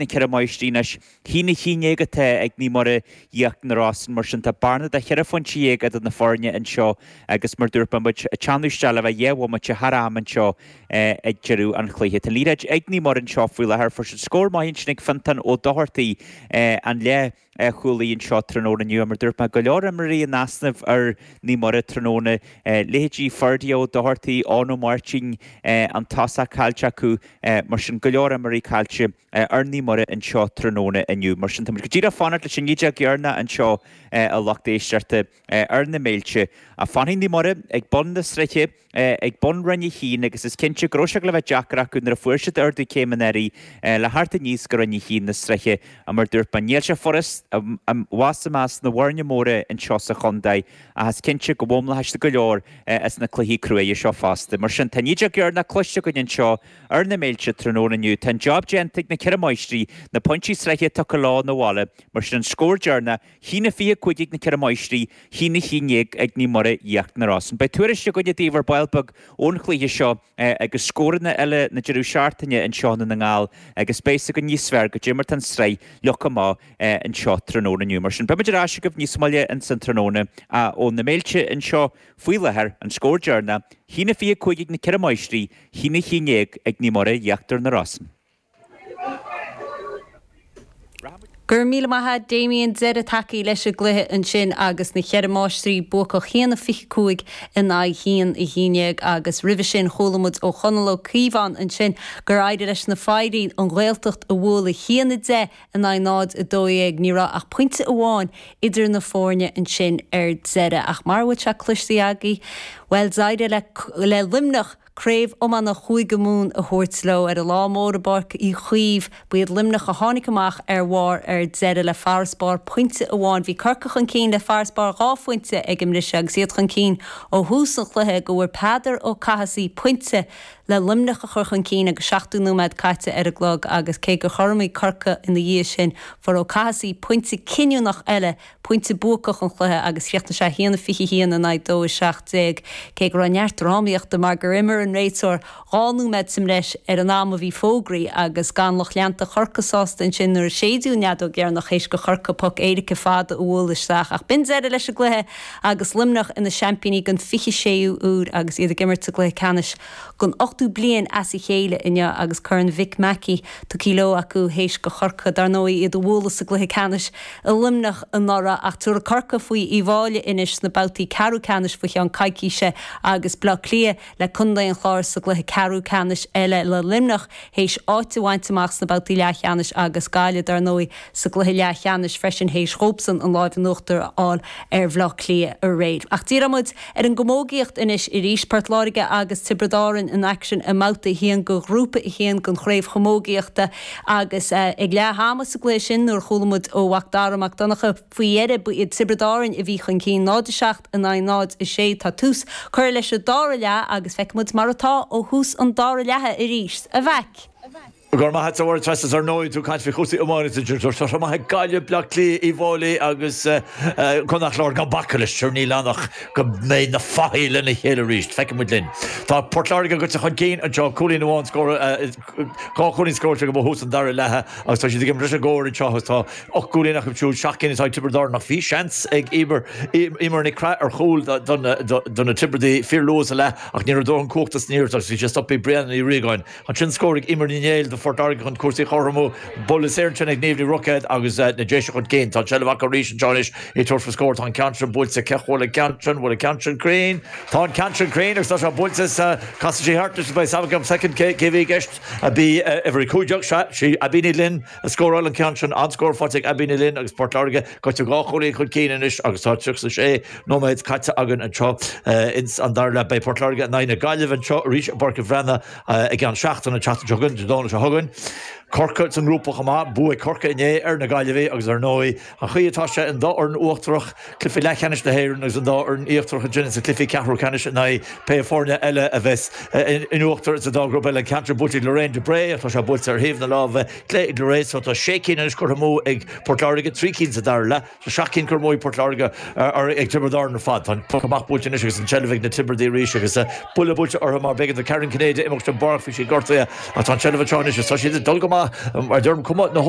ag na Ceithre Máistrí anois. 1-11 atá ag Naomh Muire Íochtar na Rosann, mar sin tá bearna de cheithre phointe dhéag idir na foirne anseo agus mar dúirt mé, muid ag teannadh isteach le bheith 2 bhomaite thar am anseo ag deireadh an chluiche. Tá an liathróid ag Naomh Muire anseo faoi láthair. Fuair siad scór maith ansin ag Fiontán Ó Dochartaigh an leath chúlaí anseo tráthnóna inniu. Mar dúirt mé, go leor imreoirí in easnamh ar Naomh Muire tráthnóna, leithéidí Ferdia Ó Dochartaigh, Eoin Ó Máirtín, an tosach caillte acu, mar sin go leor imreoirí caillte. ar Naomh Muire anseo tráthnóna inniu. Mar sin, táimid go díreach ag fanacht leis an 19 dheireanach anseo, a lucht éisteachta, ar na Méilte. Ach fanfaidh Naomh Muire ag bun na sraithe, ag bun Roinn 1 agus is cinnte go raibh sé le bheith deacair acu nuair a fuair siad ardú céime anuraidh le theacht aníos go Roinn 1 na sraithe. Ach mar a dúirt mé, níl sé furast abhus i measc na bhfoirne móra anseo sa chontae ach is cinnte go bhfoghlaimeoidh siad go leor as na cluichí cruaidhe seo fosta. Mar sin, tá an 19 dheireanach cloiste againn anseo Ar na Méilte tráthnóna inniu, tá an job déanta ag na Ceithre Máistrí, na pointí sraithe tugtha leo 'na bhaile, mar sin an scór deireanach, 1-25 ag na Ceithre Máistrí, 1-11 ag Naomh Muire Íochtar na Rosann. Beidh tuairisc againne daoibh ar ball beag ón chluiche seo agus scóranna eile na deireadh seachtaine anseo i nDún na nGall agus beidh fhios againn níos fearr goidé mar tá an tsraith leagtha amach anseo tráthnóna inniu. Mar sin, beimid ar ais agaibh níos moille ins an tráthnóna ó na Méilte anseo faoi láthair, an scór deireanach, 1-25 ag na Ceithre Máistrí, 1-11 ag Naomh Muire Íochtar na Rosann. Go raibh míle maith a't Damien, deireadh tagtha leis an gcluiche ansin agus na Cheithre Máistrí buacach 1-25 in aghaidh 1-11 agus roimhe sin chuala muid ó Chonall Ó Cíobháin ansin gur éirigh leis na Foidhrí an Ghaeltacht a bhualadh 1-10 in aghaidh 0-12. Ní raibh ach pointe amháin idir na foirne ansin ar deireadh ach mar a bhfuil sé cloiste agaibh, bhuel d'éirigh le Luimneach Craobh Iomána Chúige Mumhan a thabhairt leo ar an lá mór i bPáirc Uí Chaoimh. Ba iad Luimneach a tháinig amach ar bharr ar deireadh le farasbarr pointe amháin. Bhí Corcaigh chun cinn le farasbarr 2 phointe ag an mbriseadh agus iad chun cinn ó thús an chluiche go bhfuair Peadar Ó Cathasaigh pointe le Luimneach a chur chun cinn agus 70 nóiméad caite ar an gclog agus cé gur chothromaigh Corcaigh ina dhiaidh sin fuair Ó Cathasaigh pointe cinniúnach eile pointe buacach an chluiche agus chríochnaigh sé 1-21 in aghaidh 2-17, cé go raibh neart drámaíochta mar gur imir an réiteoir 2 nóiméad sa mbreis ar an am a bhí fógraithe agus gan lucht leanta Chorcaí sásta ansin nuair a séideadh an fheadóg dheireanach théis do Chorcaigh poc éirice fada a bhualadh isteach. Ach b'in deireadh leis an gcluiche agus Luimneach ina seaimpíní den 26ú huair agus iad ag imirt sa gcluiche ceannais don ochtú bliain as a chéile inniu agus Corn Mhick Mackey tugtha leo acu théis do Chorcaigh, dar ndóigh, iad a bhualadh sa gcluiche ceannais i Luimneach anuraidh. Ach tabharfaidh Corcaigh faoi Uíbh Fhailí anois sna babhtaí ceathrú ceannais faoi cheann coicíse agus Bleá Cliath le Contae an Chláir sa gcluiche ceathrú ceannais eile le Luimneach théis áit a bhaint amach sna babhtaí leathcheannais agus Gaillimh, dar ndóigh, sa gcluiche leathcheannais freisin théis dhóibhsan an láimh in uachtar a fháil ar Bhleá Cliath aréir. Ach díreoidh muid ar an gcamógaíocht anois arís, Port Láirge agus Tiobraid Árann in aicsean i mBabhta 1 de Ghrúpa 1 den Chraobh Chamógaíochta agus ag leath ama sa gcluiche sin nuair a chuala muid ó Mhac Dara Mac Donncha faoi dheireadh ba iad Tiobraid Árann a bhí chun cinn, 0-7 in aghaidh 0-6. Tá tús curtha leis an dara leath agus feicfidh muid mar atá ó thús an dara leatha arís. A Mhaic! Go raibh maith a't a Mháire Treasa is ar ndóigh tú ag caint faoi chúrsaí iomána tá sé maith ag Gaillimh, Bleá Cliath, Uíbh Fhailí agus Contae an Chláir gan bacadh leis, sure níl ann ach go mbeidh na fathaigh lena chéile arís. Feicfidh muid linn. Tá Port Láirge goite chun cinn anseo, cúilín amháin scóráilte, 2 chúilín scóráilte acu ó thús an dara leatha agus tá siad ag imirt leis an gcóir anseo agus tá 8 gcúilín acu siúd, 7 gcinn atá ag Tiobraid Árann ach bhí seans ag Emer, Emer Nic Craith ar chúl do na Tiobradaigh fíor luath sa leath ach ní raibh dóthain cumhachta san iarracht agus bhí sé stoptha ag Brianna Ní Riagáin. Ansin scór ag Eimear Ní Néill do Phort Láirge chun cúrsaí a chothromú. Buille saor ansin ag Niamh Ní Roicéad agus na Déise chun cinn. Tá an tseilbh acu arís anseo anois ag tabhairt faoi scór. Tá an ceann sin buailte. Cé bhfuil an ceann sin? Bhfuil an ceann sin cruinn? Tá an ceann sin cruinn agus tá sé buailte. Casfaidh sí thart anois beidh a fhios agam soicind cé bhí i gceist. Bhí uimhir 15, sea, sí Abbie Ní Ghlinn a scóráil an ceann sin. An-scór faighte ag Abbie Ní Ghlinn agus Port Láirge goite 2 chúilín chun cinn anois agus tá 36 nóiméad caite againn anseo ins an dara leath. Beidh Port Láirge in aghaidh na Gaillimhe anseo arís i bPáirc an Bhreathnaigh i gceann seachtaine, an tseachtain seo chugainn, Dé Domhnaigh seo chugainn. Corcaigh sa ngrúpa chomh maith. Bua ag Corcaigh inné ar na Gaillimhigh agus ar ndóigh an chaoi atá sé an dá fhoireann uachtarach, cluichí leathcheannais na hÉireann agus an dá fhoireann íochtarach ansin sna cluichí ceathrú ceannais in aghaidh pé foirne eile a bheas in uachtar sa dá ghrúpa eile. An ceann sin buailte ag Lorraine de Bré ach tá sé buailte ar thaobh na láimhe clé ag Lorraine so tá sé cinn anois curtha amú ag Port Láirge, 3 cinn sa dara leath. Tá 7 cinn curtha amú ag Port Láirge, ag Tiobraid Árann ar fad. Tá an poc amach buailte anois agus an tseilbh ag na Tiobradaigh arís agus buille buailte orthu mar b'éigean do Karen Cinnéide imeacht den bpáirc, bhí sí gortaithe ach tá an tseilbh anseo anois agus tá siad ag dul go maith mar deirim cuma na.